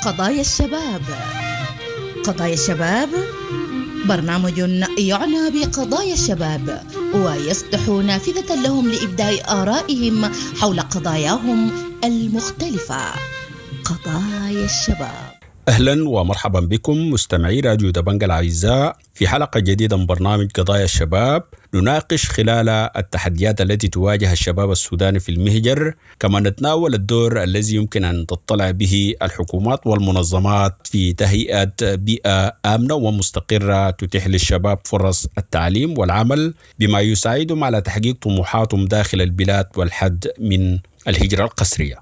قضايا الشباب. قضايا الشباب برنامج يعنى بقضايا الشباب ويفتح نافذة لهم لإبداء آرائهم حول قضاياهم المختلفة. قضايا الشباب. اهلا ومرحبا بكم مستمعي راديو دبنج الاعزاء في حلقه جديده من برنامج قضايا الشباب، نناقش خلال التحديات التي تواجه الشباب السوداني في المهجر، كما نتناول الدور الذي يمكن ان تطلع به الحكومات والمنظمات في تهيئه بيئه امنه ومستقره تتيح للشباب فرص التعليم والعمل بما يساعدهم على تحقيق طموحاتهم داخل البلاد والحد من الهجره القسريه.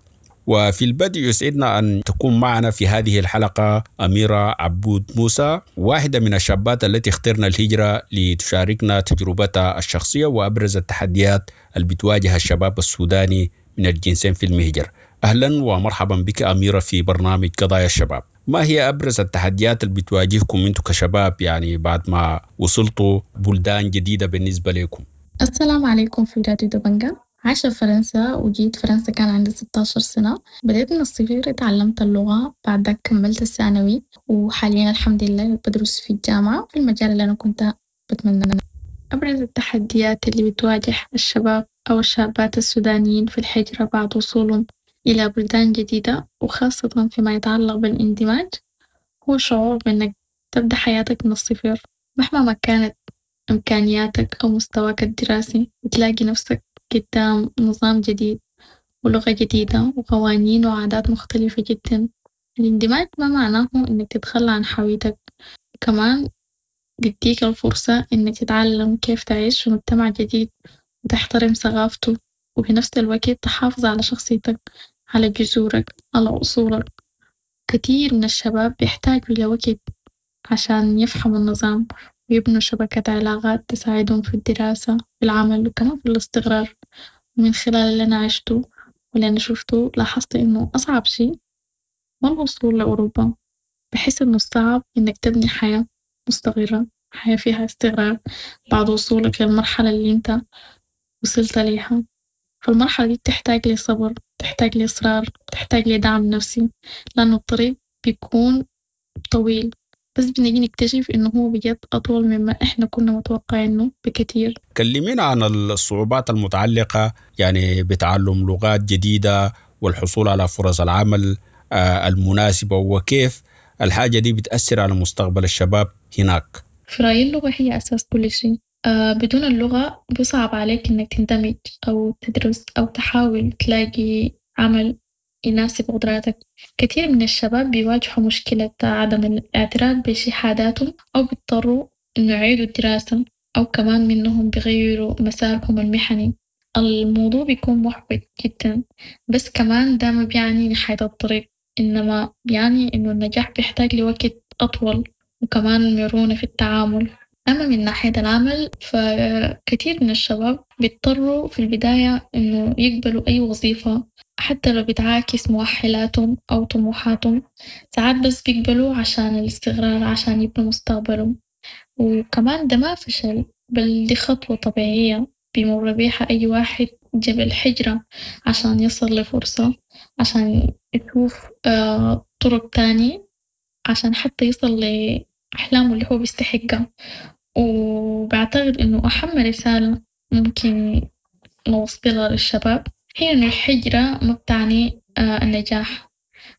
وفي البدء يسعدنا أن تكون معنا في هذه الحلقة أميرة عبود موسى، واحدة من الشابات التي اخترنا الهجرة لتشاركنا تجربتها الشخصية وأبرز التحديات اللي بتواجه الشباب السوداني من الجنسين في المهجر. أهلا ومرحبا بك أميرة في برنامج قضايا الشباب. ما هي أبرز التحديات اللي بتواجهكم أنتم كشباب يعني بعد ما وصلتوا بلدان جديدة بالنسبة لكم؟ السلام عليكم في راديو دبنجة. عايشة في فرنسا وجيت فرنسا كان عندي 16 سنة. بدأت من الصفر، اتعلمت اللغة، بعد ذاك كملت الثانوي، وحاليا الحمد لله بدرس في الجامعة في المجال اللي أنا كنت بتمنى. أبرز التحديات اللي بتواجه الشباب أو الشابات السودانيين في الهجرة بعد وصولهم إلى بلدان جديدة، وخاصة فيما يتعلق بالاندماج، هو شعور بإنك تبدأ حياتك من الصفر مهما ما كانت إمكانياتك أو مستواك الدراسي، بتلاقي نفسك قدام نظام جديد ولغة جديدة وقوانين وعادات مختلفة جدا. الاندماج ما معناه إنك تتخلى عن هويتك، كمان بيديك الفرصة إنك تتعلم كيف تعيش في مجتمع جديد وتحترم ثقافته، وفي نفس الوقت تحافظ على شخصيتك، على جذورك، على أصولك. كتير من الشباب بيحتاجوا لوقت عشان يفهموا النظام ويبنوا شبكة علاقات تساعدهم في الدراسة، في العمل، وكمان في الاستقرار. ومن خلال اللي أنا عشته واللي أنا شفته لاحظت إنه أصعب شي ما الوصول لأوروبا، بحس إنه الصعب إنك تبني حياة مستقرة، حياة فيها استقرار بعد وصولك للمرحلة اللي انت وصلت ليها. فالمرحلة دي بتحتاج لصبر، بتحتاج لإصرار، بتحتاج لدعم نفسي، لأنه الطريق بيكون طويل، بس بنيجي نكتشف إنه هو بجد أطول مما إحنا كنا متوقعينه بكتير. كلمينا عن الصعوبات المتعلقة يعني بتعلم لغات جديدة والحصول على فرص العمل المناسبة، وكيف الحاجة دي بتأثر على مستقبل الشباب هناك. في رأيي اللغة هي أساس كل شيء. بدون اللغة بيصعب عليك إنك تندمج أو تدرس أو تحاول تلاقي عمل يناسب قدراتك. كثير من الشباب بيواجهوا مشكلة عدم الاعتراف بشهاداتهم، أو بيضطروا إنه يعيدوا الدراسة، أو كمان منهم بيغيروا مسارهم المهني. الموضوع بيكون محبط جدا، بس كمان ده ما بيعني نهاية الطريق، إنما بيعني إنه النجاح بيحتاج لوقت أطول وكمان مرونة في التعامل. أما من ناحية العمل فكثير من الشباب بيضطروا في البداية إنه يقبلوا أي وظيفة حتى لو بتعاكس مؤهلاتهم أو طموحاتهم. ساعات بس بيقبلوا عشان الاستقرار، عشان يبنوا مستقبلهم. وكمان ده ما فشل، بل دي خطوة طبيعية بيمر بيها أي واحد جبل حجرة عشان يصل لفرصة، عشان يشوف طرق تاني، عشان حتى يصل لأحلامه اللي هو بيستحقها. وبعتقد إنه أهم رسالة ممكن نوصلها للشباب هي إنه الحجرة ما بتعني النجاح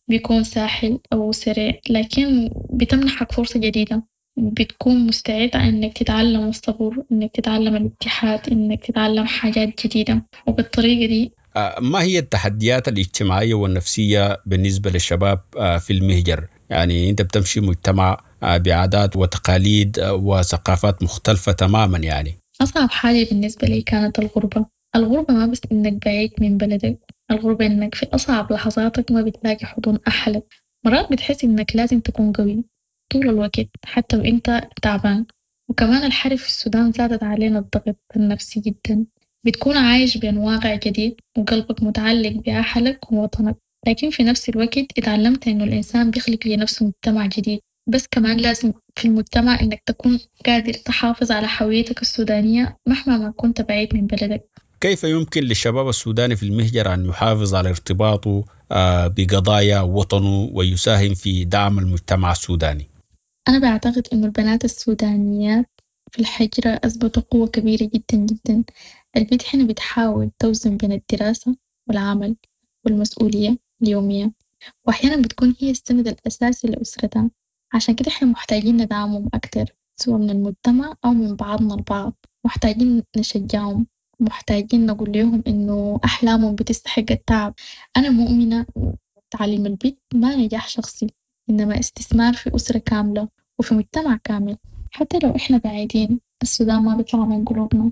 بيكون سهل أو سريع، لكن بتمنحك فرصة جديدة، بتكون مستعد إنك تتعلم الصبر، إنك تتعلم الاتحاد، إنك تتعلم حاجات جديدة، وبالطريقة دي. ما هي التحديات الاجتماعية والنفسية بالنسبة للشباب في المهجر؟ يعني أنت بتمشي مجتمع بعادات وتقاليد وثقافات مختلفة تماما. يعني أصعب حاجة بالنسبة لي كانت الغربة. الغربة ما بس إنك بعيد من بلدك، الغربة إنك في أصعب لحظاتك ما بتلاقي حضن أهلك. مرات بتحس إنك لازم تكون قوي طول الوقت حتى وإنت تعبان. وكمان الحرب في السودان زادت علينا الضغط النفسي جدا. بتكون عايش بين واقع جديد وقلبك متعلق بأهلك ووطنك، لكن في نفس الوقت اتعلمت إنه الإنسان بيخلق لنفسه مجتمع جديد، بس كمان لازم في المجتمع إنك تكون قادر تحافظ على هويتك السودانية مهما ما كنت بعيد من بلدك. كيف يمكن للشباب السوداني في المهجر أن يحافظ على ارتباطه بقضايا وطنه ويساهم في دعم المجتمع السوداني؟ أنا بعتقد إنه البنات السودانيات في الحجرة أثبتوا قوة كبيرة جداً جداً. البت هنا بتحاول توزن بين الدراسة والعمل والمسؤولية اليومية وأحياناً بتكون هي السند الأساسي لأسرتها، عشان كده إحنا محتاجين ندعمهم أكتر سوا من المجتمع أو من بعضنا البعض، محتاجين نشجعهم، محتاجين نقول ليهم إنو أحلامهم بتستحق التعب. أنا مؤمنة تعليم البت ما نجاح شخصي إنما استثمار في أسرة كاملة وفي مجتمع كامل. حتى لو إحنا بعيدين السودان ما بيطلع من قلوبنا.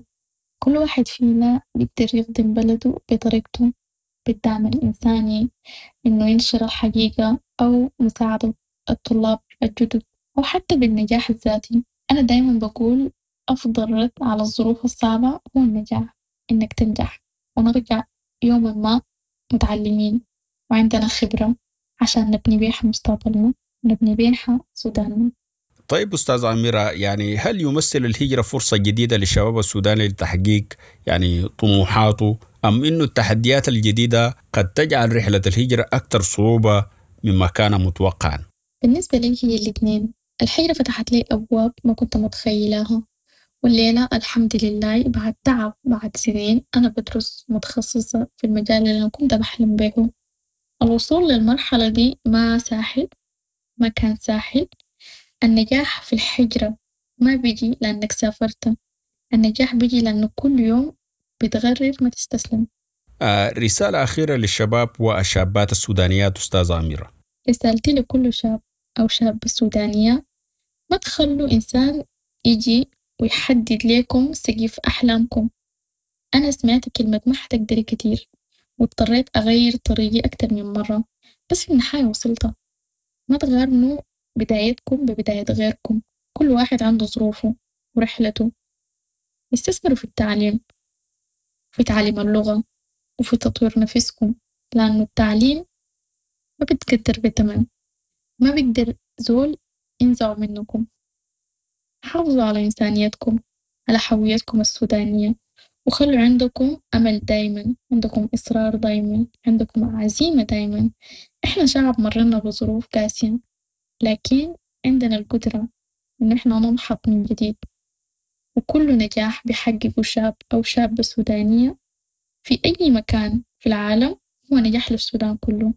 كل واحد فينا بيقدر يخدم بلده بطريقته، بالدعم الإنساني، إنه ينشر الحقيقة أو مساعدة الطلاب الجدد أو حتى بالنجاح الذاتي. أنا دايماً بقول أفضل رد على الظروف الصعبة هو النجاح، إنك تنجح ونرجع يوماً ما متعلمين وعندنا خبرة عشان نبني بيها مستقبلنا ونبني بيها سوداننا. طيب أستاذ أميرة، يعني هل يمثل الهجرة فرصة جديدة للشباب السوداني لتحقيق يعني طموحاته، أم إنه التحديات الجديدة قد تجعل رحلة الهجرة أكثر صعوبة مما كان متوقعا؟ بالنسبة لي هي الاثنين. الهجرة فتحت لي أبواب ما كنت متخيلها، والليلة الحمد لله بعد تعب بعد سنين أنا بدرس متخصصة في المجال اللي أنا كنت بحلم به. الوصول للمرحلة دي ما ساهل، ما كان ساهل. النجاح في الهجرة ما بيجي لأنك سافرت، النجاح بيجي لأنه كل يوم بتغرر ما تستسلم. رسالة أخيرة للشباب والشابات السودانيات أستاذة أميرة. رسالتي لكل شاب أو شابة سودانية: ما تخلوا إنسان يجي ويحدد لكم سقف أحلامكم. أنا سمعت كلمة ما حتقدري كتير واضطريت أغير طريقي أكتر من مرة، بس في النهاية وصلت. ما تقارنوا بدايتكم ببداية غيركم، كل واحد عنده ظروفه ورحلته. استثمروا في التعليم، في تعليم اللغة وفي تطوير نفسكم، لأنه التعليم ما بتقدر بثمن، ما بيقدر زول ينزعه منكم. حافظوا على إنسانيتكم، على هويتكم السودانية، وخلوا عندكم أمل دايما، عندكم إصرار دايما، عندكم عزيمة دايما. إحنا شعب مرينا بظروف قاسية، لكن عندنا القدرة إن إحنا ننهض من جديد. وكل نجاح بيحققه شاب أو شابة سودانية في أي مكان في العالم هو نجاح للسودان كله.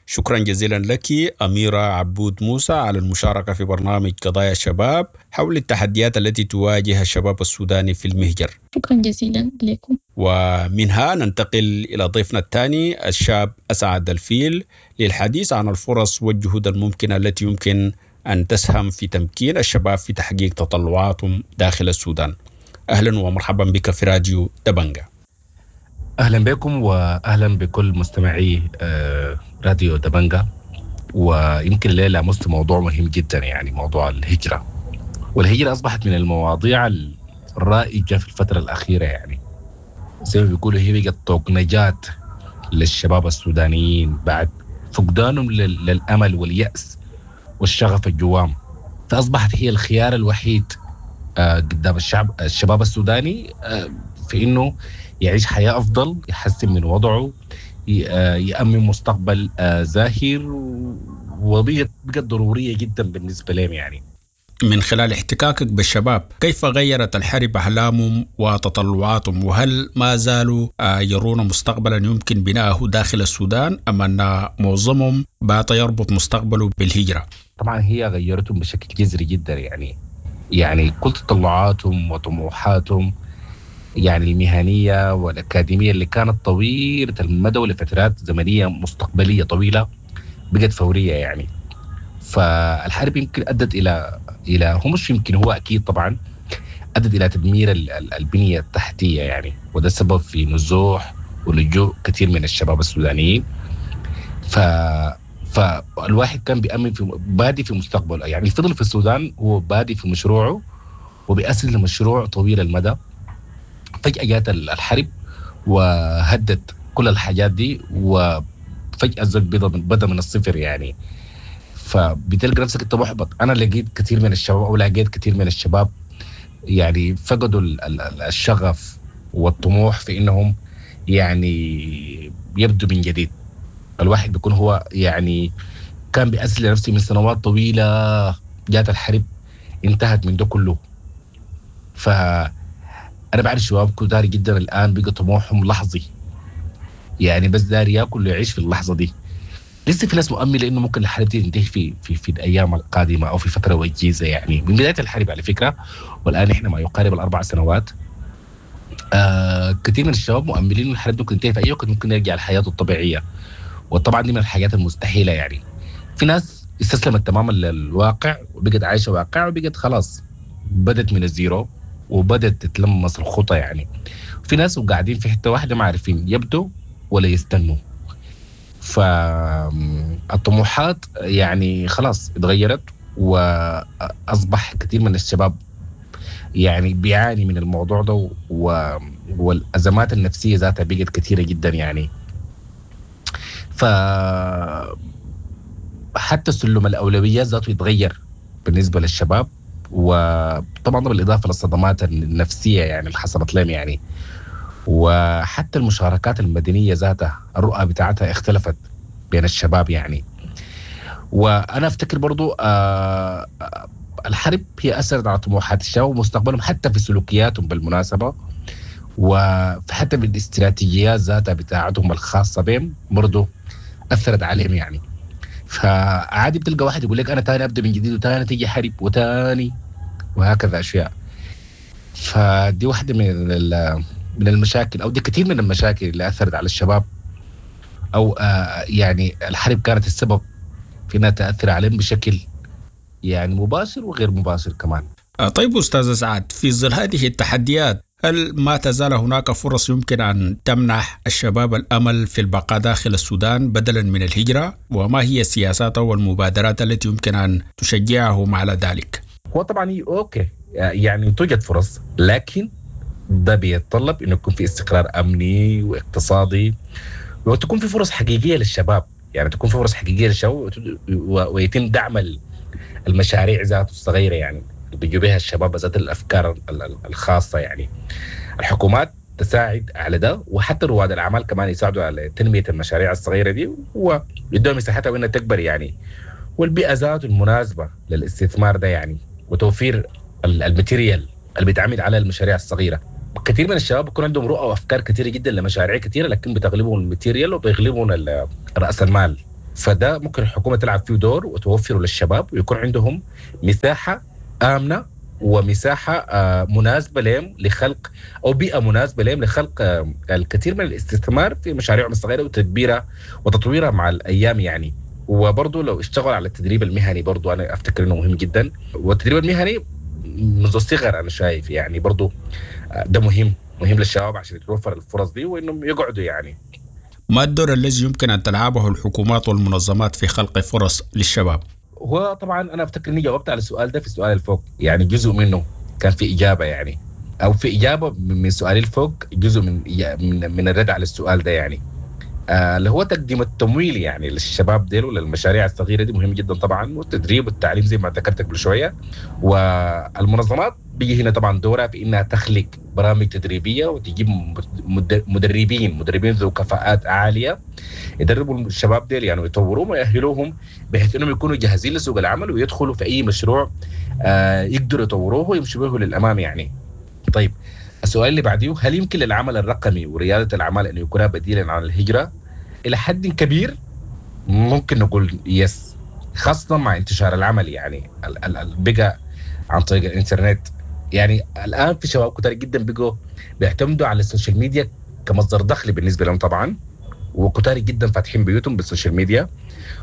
شكرا جزيلا لك أميرة عبود موسى على المشاركة في برنامج قضايا الشباب حول التحديات التي تواجه الشباب السوداني في المهجر. شكرا جزيلا لكم. ومنها ننتقل إلى ضيفنا الثاني الشاب أسعد الفيل للحديث عن الفرص والجهود الممكنة التي يمكن أن تسهم في تمكين الشباب في تحقيق تطلعاتهم داخل السودان. أهلا ومرحبا بك في راديو دبنجة. أهلا بكم وأهلا بكل مستمعي راديو دبنجة. ويمكن الليلة لمست موضوع مهم جدا، يعني موضوع الهجرة. والهجرة أصبحت من المواضيع الرائجة في الفترة الأخيرة، يعني زي ما بيقولوا هي بقت طوق نجاة للشباب السودانيين بعد فقدانهم للأمل واليأس والشغف الجوام، فأصبحت هي الخيار الوحيد قدام الشباب السوداني في إنه يعيش حياة أفضل، يحسن من وضعه، يأمن مستقبل زاهر، وبقت ضرورية جدا بالنسبة لهم. يعني من خلال احتكاكك بالشباب، كيف غيرت الحرب أحلامهم وتطلعاتهم؟ وهل ما زالوا يرون مستقبلا يمكن بناءه داخل السودان، أم أن معظمهم بات يربط مستقبله بالهجرة؟ طبعا هي غيرتهم بشكل جذري جدا، يعني كل تطلعاتهم وطموحاتهم يعني المهنية والأكاديمية اللي كانت طويلة المدى ولفترات زمنية مستقبلية طويلة بقت فورية. يعني فالحرب يمكن أدت إلى هو مش يمكن، هو أكيد طبعا أدت إلى تدمير البنية التحتية، يعني وده سبب في نزوح ولجوء كثير من الشباب السودانيين. فالواحد كان بيأمن في بادي في مستقبله، يعني فضل في السودان هو بادي في مشروعه وبيأسس لمشروع طويل المدى. فجأة جات الحرب وهدت كل الحاجات دي، وفجأة الزوج بدأ من الصفر يعني. فبتلقى نفسك انت محبط. انا لقيت كثير من الشباب او لقيت كثير من الشباب يعني فقدوا الشغف والطموح في انهم يعني يبدوا من جديد. الواحد بيكون هو يعني كان بيأسس لنفسه من سنوات طويلة، جات الحرب انتهت من ده كله. فأنا بعرف شباب كتار جدا الآن بقى طموحهم لحظي، يعني بس داري ياكل ويعيش في اللحظة دي. لسه في ناس مؤملة إنه ممكن الحرب دي تنتهي في في في الأيام القادمة أو في فترة وجيزة، يعني من بداية الحرب على فكرة، والآن إحنا ما يقارب 4 سنوات. كثير من الشباب مؤملين إنه الحرب ممكن تنتهي في أي وقت، ممكن يرجع لحياته الطبيعية، وطبعا دي من الحاجات المستحيلة. يعني في ناس استسلمت تماما للواقع وبقت عايشة واقع، وبقت خلاص بدت من ال zero وبدت تتلمس الخطى. يعني في ناس وقاعدين في حتة واحدة ما عارفين يبدوا ولا يستنوا. فالطموحات يعني خلاص اتغيرت، وأصبح كثير من الشباب يعني بيعاني من الموضوع ده، والأزمات النفسية ذاتها بقت كثيرة جدا يعني. فحتى سلم الأولويات ذاته يتغير بالنسبة للشباب، وطبعا بالإضافة للصدمات النفسية يعني اللي حصلت لهم يعني. وحتى المشاركات المدنية ذاتها الرؤى بتاعتها اختلفت بين الشباب يعني. وأنا أفتكر برضو الحرب هي أثرت على طموحات الشباب ومستقبلهم، حتى في سلوكياتهم بالمناسبة، وحتى بالاستراتيجيات ذاتها بتاعتهم الخاصة بهم برضو أثرت عليهم يعني. فعادي بتلقى واحد يقول لك أنا تاني أبدأ من جديد، وتاني تيجي حرب، وتاني وهكذا أشياء. فدي واحدة من المشاكل، أو دي كثير من المشاكل اللي أثرت على الشباب، أو يعني الحرب كانت السبب في أنها تأثر عليهم بشكل يعني مباشر وغير مباشر كمان. طيب أستاذ سعد، في ظل هذه التحديات هل ما تزال هناك فرص يمكن أن تمنح الشباب الأمل في البقاء داخل السودان بدلا من الهجرة؟ وما هي السياسات والمبادرات التي يمكن أن تشجعهم على ذلك؟ هو طبعا okay يعني توجد فرص، لكن ده بيتطلب إنه يكون في استقرار أمني واقتصادي، وتكون في فرص حقيقية للشباب، يعني تكون في فرص حقيقية للشباب، ويتم دعم المشاريع ذاته الصغيرة يعني اللي بيجوا بها الشباب ذات الأفكار الخاصة يعني. الحكومات تساعد على ده، وحتى رواد الأعمال كمان يساعدوا على تنمية المشاريع الصغيرة دي ويدوها مساحتها وإنها تكبر يعني، والبيئة ذاته المناسبة للاستثمار ده يعني، وتوفير ال material اللي بيتعمل على المشاريع الصغيرة. كثير من الشباب بيكون عندهم رؤى وأفكار كثيرة جدا لمشاريع كثيرة، لكن بتغلبهم ال material وبيغلبهم رأس المال. فده ممكن الحكومة تلعب فيه دور وتوفره للشباب، ويكون عندهم مساحة آمنة ومساحة مناسبة لهم لخلق، أو بيئة مناسبة لهم لخلق الكثير من الاستثمار في مشاريعهم الصغيرة وتدبيرها وتطويرها مع الأيام يعني. وبرضه لو اشتغل على التدريب المهني برضه أنا أفتكر إنه مهم جدا، والتدريب المهني منذ الصغر أنا شايف يعني برضه ده مهم للشباب عشان يتوفر الفرص دي وإنهم يقعدوا يعني. ما الدور الذي يمكن أن تلعبه الحكومات والمنظمات في خلق فرص للشباب؟ هو طبعا أنا أفتكر إني جاوبت على السؤال ده في السؤال الفوق، يعني جزء منه كان في إجابة يعني، أو في إجابة من سؤالي الفوق جزء من الرد على السؤال ده يعني، اللي هو تقديم التمويل يعني للشباب ديل وللمشاريع الصغيرة دي مهم جدا طبعا، والتدريب والتعليم زي ما ذكرت قبل شوية. والمنظمات بيجي هنا طبعا دورها في إنها تخلق برامج تدريبية وتجيب مدربين ذو كفاءات عالية يدربوا الشباب ديل يعني ويطوروهم ويأهلوهم بحيث إنهم يكونوا جاهزين لسوق العمل ويدخلوا في أي مشروع يقدروا يطوروه ويمشوا به للأمام يعني. طيب السؤال اللي بعديه، هل يمكن للعمل الرقمي وريادة الأعمال أن يكون بديلا عن الهجرة؟ إلى حد كبير ممكن نقول يس، خاصة مع انتشار العمل يعني بقى عن طريق الإنترنت. يعني الآن في شباب كتير جدا بقوا بيعتمدوا على ال social media كمصدر دخل بالنسبة لهم طبعا، وكتار جدا فاتحين بيوتهم بال social media.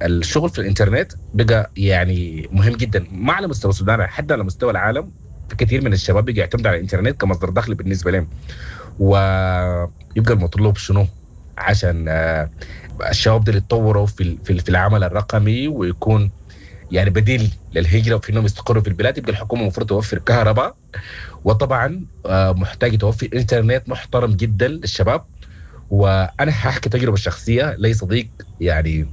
الشغل في الإنترنت بقى يعني مهم جدا، ما على مستوى السودان حتى على مستوى العالم. في كثير من الشباب بيجي يعتمد على الإنترنت كمصدر دخل بالنسبة لهم. ويبقى المطلوب شنو عشان الشباب دول يتطوروا في العمل الرقمي ويكون يعني بديل للهجرة وفي انهم يستقروا في البلاد؟ يبقى الحكومة المفروض توفر كهرباء، وطبعا محتاج توفر انترنت محترم جدا للشباب. وانا هحكي تجربة شخصية لي صديق يعني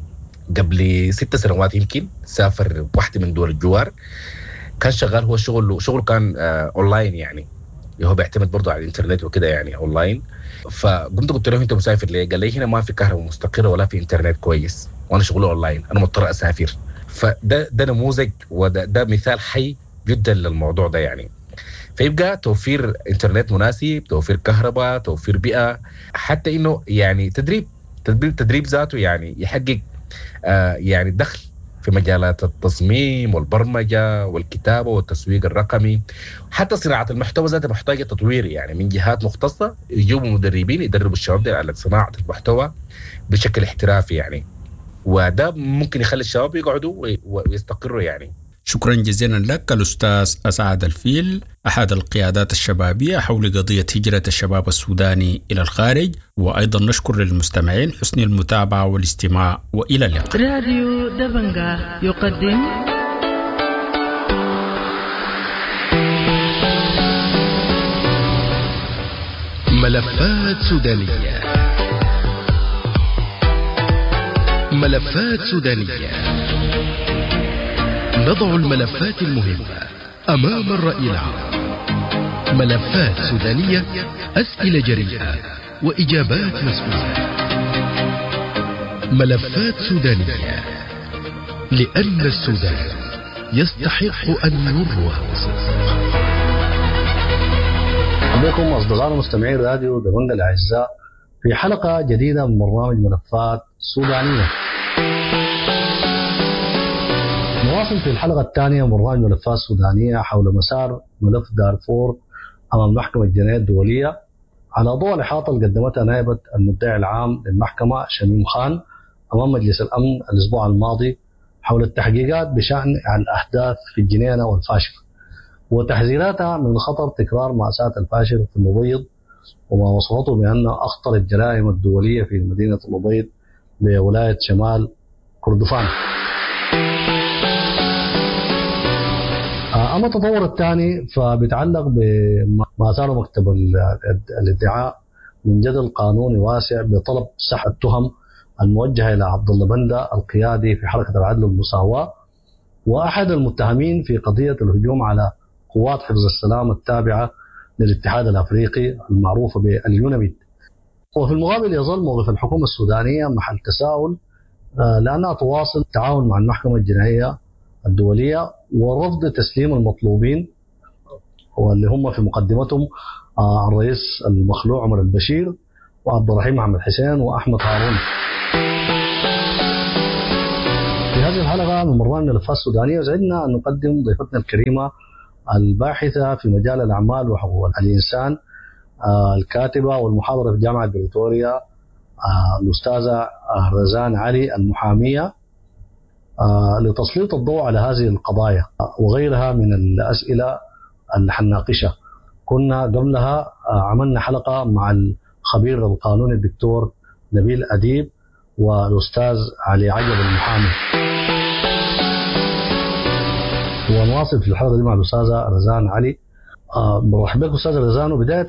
قبل 6 سنوات يمكن سافر واحدة من دول الجوار، كان شغال هو شغله كان اونلاين يعني، اللي هو بيعتمد برضه على الانترنت وكده يعني اونلاين. فقمت قلت له انت مسافر ليه؟ قال لي هنا ما في كهرباء مستقره ولا في انترنت كويس، وانا شغلي اونلاين، انا مضطر اسافر. فده نموذج وده مثال حي جدا للموضوع ده يعني. فيبقى توفير انترنت مناسب، توفير كهرباء، توفير بيئة، حتى انه يعني تدريب ذاته يعني يحقق يعني دخل في مجالات التصميم والبرمجة والكتابة والتسويق الرقمي، حتى صناعة المحتوى ذاتها محتاجة تطوير يعني من جهات مختصة يجيبوا مدربين يدربوا الشباب دي على صناعة المحتوى بشكل احترافي يعني، وده ممكن يخلي الشباب يقعدوا ويستقروا يعني. شكرا جزيلا لك الأستاذ أسعد الفيل، أحد القيادات الشبابية حول قضية هجرة الشباب السوداني إلى الخارج. وأيضا نشكر للمستمعين حسن المتابعة والاستماع، وإلى اللقاء. راديو دبنجا يقدم ملفات سودانية. ملفات سودانية، نضع الملفات المهمة أمام الرأي العام. ملفات سودانية، أسئلة جريئة وإجابات مسؤولة. ملفات سودانية، لأن السودان يستحق أن يروى بصدق. بكم أصدقائنا مستمعين راديو دبنجا الأعزاء في حلقة جديدة من برنامج ملفات سودانية. نواصل في الحلقة الثانية من برنامج ملفات سودانية حول مسار ملف دارفور أمام محكمة الجنايات الدولية على ضوء الإحاطة اللي قدمتها نائبة المدعي العام للمحكمة شميم خان أمام مجلس الأمن الأسبوع الماضي حول التحقيقات بشأن الأحداث في الجنينة والفاشر وتحذيراتها من خطر تكرار مأساة الفاشر في الأبيض وما وصفته بأنه أخطر الجرائم الدولية في مدينة الأبيض بولاية شمال كردفان. أما التطور الثاني فبيتعلق بما أثاره مكتب الادعاء من جدل قانوني واسع بطلب سحب التهم الموجهة إلى عبد الله بندة القيادي في حركة العدل والمساواة وأحد المتهمين في قضية الهجوم على قوات حفظ السلام التابعة للاتحاد الأفريقي المعروفة باليوناميد. وفي المقابل يظل موقف الحكومة السودانية محل تساؤل لأنها تواصل التعاون مع المحكمة الجنائية الدولية ورفض تسليم المطلوبين واللي هم في مقدمتهم الرئيس المخلوع عمر البشير وعبد الرحيم محمد حسين وأحمد هارون. في هذه الحلقة من برنامج ملفات السودانية يسعدنا أن نقدم ضيفتنا الكريمة الباحثة في مجال الأعمال وحقوق الإنسان، الكاتبة والمحاضرة في جامعة بريتوريا، الأستاذة رزان علي المحامية، لتسليط الضوء على هذه القضايا وغيرها من الأسئلة اللي حنناقشها. كنا قبلها عملنا حلقة مع الخبير القانوني الدكتور نبيل أديب والأستاذ علي عجب المحامي. ونواصل في الحلقة دي مع الأستاذة رزان علي. برحب بك أستاذة رزان. وبداية،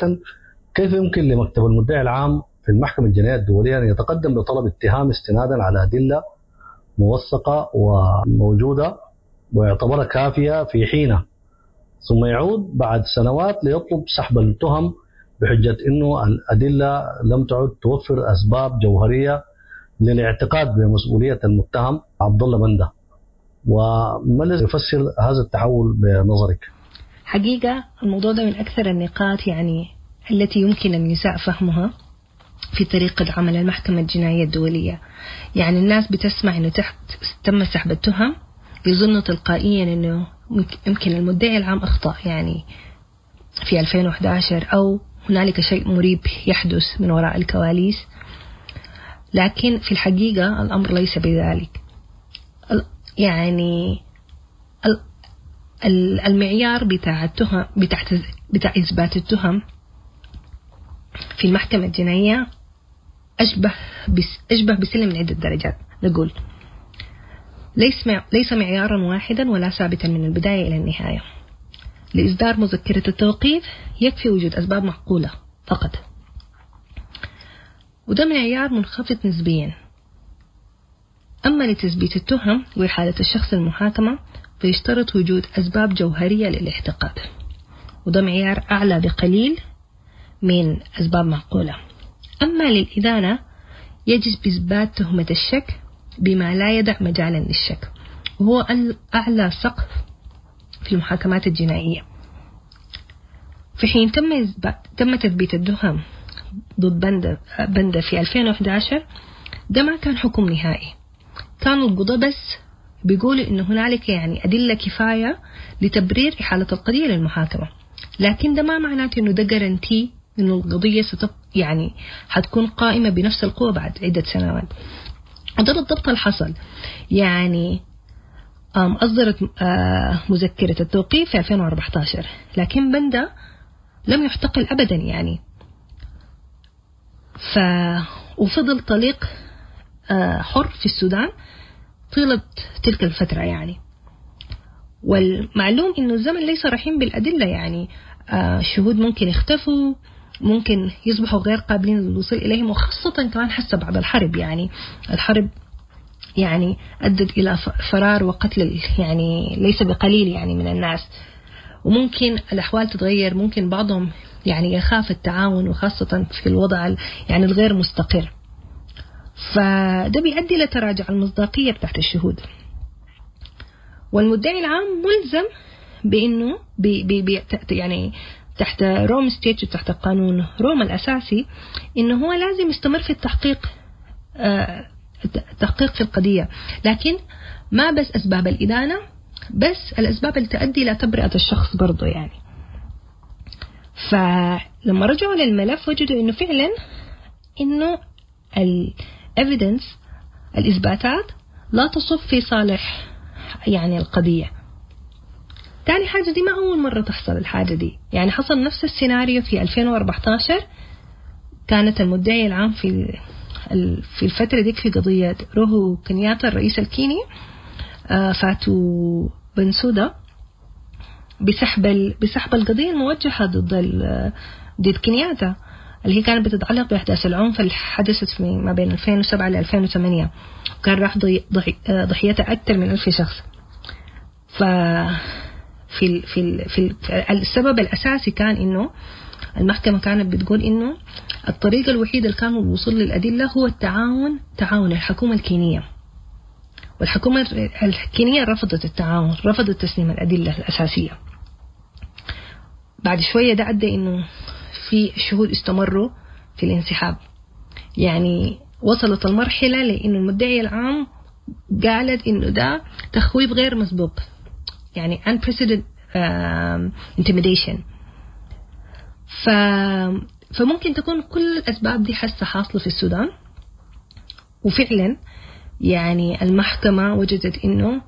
كيف يمكن لمكتب المدعي العام في المحكمة الجنائية الدولية أن يتقدم بطلب اتهام استنادا على أدلة موثقة وموجودة ويعتبرها كافية في حينه، ثم يعود بعد سنوات ليطلب سحب التهم بحجة أنه الأدلة لم تعد توفر أسباب جوهرية للاعتقاد بمسؤولية المتهم عبد الله بندة؟ وما الذي يفسر هذا التحول بنظرك؟ حقيقة الموضوع ده من أكثر النقاط يعني التي يمكن النساء فهمها في طريقة عمل المحكمة الجنائية الدولية. يعني الناس بتسمع إنه تحت تم سحب التهم يظنوا تلقائيا إنه يمكن المدعي العام أخطأ يعني في 2011 أو هنالك شيء مريب يحدث من وراء الكواليس، لكن في الحقيقة الأمر ليس بذلك. يعني المعيار بتاع التهم بتاع إثبات التهم في المحكمة الجنائية أشبه بسلم من عدة درجات. نقول ليس معيارا واحدا ولا ثابتا من البداية إلى النهاية. لإصدار مذكرة التوقيف يكفي وجود أسباب معقولة فقط، وده معيار منخفض نسبيا. أما لتثبيت التهم وإحالة الشخص المحاكمة فيشترط وجود أسباب جوهرية للاعتقاد، وده معيار أعلى بقليل من أسباب معقولة. أما للإدانة يجب إثبات تهمة الشك بما لا يدع مجالا للشك، وهو أعلى سقف في المحاكمات الجنائية. في حين تم تثبيت التهم ضد بندا في 2011، ده ما كان حكم نهائي، كانوا القضاة بس بيقولوا إنه هنالك يعني أدلة كفاية لتبرير إحالة القضية للمحاكمة، لكن ده ما معناته إنه ده جارنتي إنه القضية يعني حتكون قائمة بنفس القوة بعد عدة سنوات. وده بالضبط اللي حصل. يعني أصدرت مذكرة التوقيف في 2014، لكن بندا لم يعتقل أبدا يعني، وفضل طليق حر في السودان طيلة تلك الفترة يعني. والمعلوم إنه الزمن ليس رحيم بالأدلة، يعني الشهود ممكن يختفوا، ممكن يصبحوا غير قابلين للوصول إليهم، وخاصة كمان حتى بعد الحرب. يعني الحرب يعني أدت إلى فرار وقتل يعني ليس بقليل يعني من الناس، وممكن الأحوال تتغير، ممكن بعضهم يعني يخاف التعاون، وخاصة في الوضع يعني الغير مستقر، فده بيؤدي لتراجع المصداقية بتاعت الشهود. والمدعي العام ملزم بأنه بي بي يعني تحت Rome Statute، تحت قانون روما الأساسي، إنه هو لازم يستمر في التحقيق، التحقيق في القضية، لكن ما بس أسباب الإدانة، بس الأسباب اللي تؤدي إلى تبرئة الشخص برضو يعني. فلما رجعوا للملف وجدوا إنه فعلا إنه ال evidence، الإثباتات لا تصب في صالح يعني القضية. تاني حاجة، دي ما أول مرة تحصل الحاجة دي، يعني حصل نفس السيناريو في 2014. كانت المدعي العام في الفترة ديك في قضية روهو كنياتا الرئيس الكيني، فاتو بنسودا، بسحب القضية الموجهة ضد كنياتا، اللي هي كانت بتتعلق بأحداث العنف اللي حدثت في ما بين 2007 ل 2008، وكان راح ضحيتها أكثر من 1000 شخص. ف في في في السبب الأساسي كان إنه المحكمة كانت بتقول إنه الطريقة الوحيدة اللي كان الوصول للأدلة هو التعاون، تعاون الحكومة الكينية، والحكومة الكينية رفضت التعاون، رفضت تسليم الأدلة الأساسية. بعد شوية ده أدى إنه في شهود استمروا في الانسحاب، يعني وصلت المرحلة لأنه المدعي العام قالت إنه ده تخويف غير مسبوق، يعني unprecedented intimidation. فممكن تكون كل الأسباب دي حاسة حاصلة في السودان، وفعلا يعني المحكمة وجدت إنه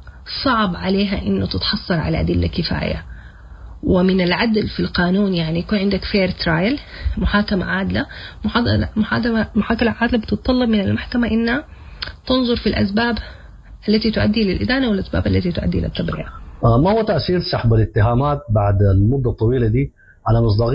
صعب عليها إنه تتحصل على أدلة كفاية، ومن العدل في القانون يعني يكون عندك fair trial، محاكمة عادلة. محاكمة عادلة بتتطلب من المحكمة إنها تنظر في الأسباب التي تؤدي للإدانة والأسباب التي تؤدي للتبرئة. ما هو تأثير سحب الاتهامات بعد المدة الطويلة دي على مصداقية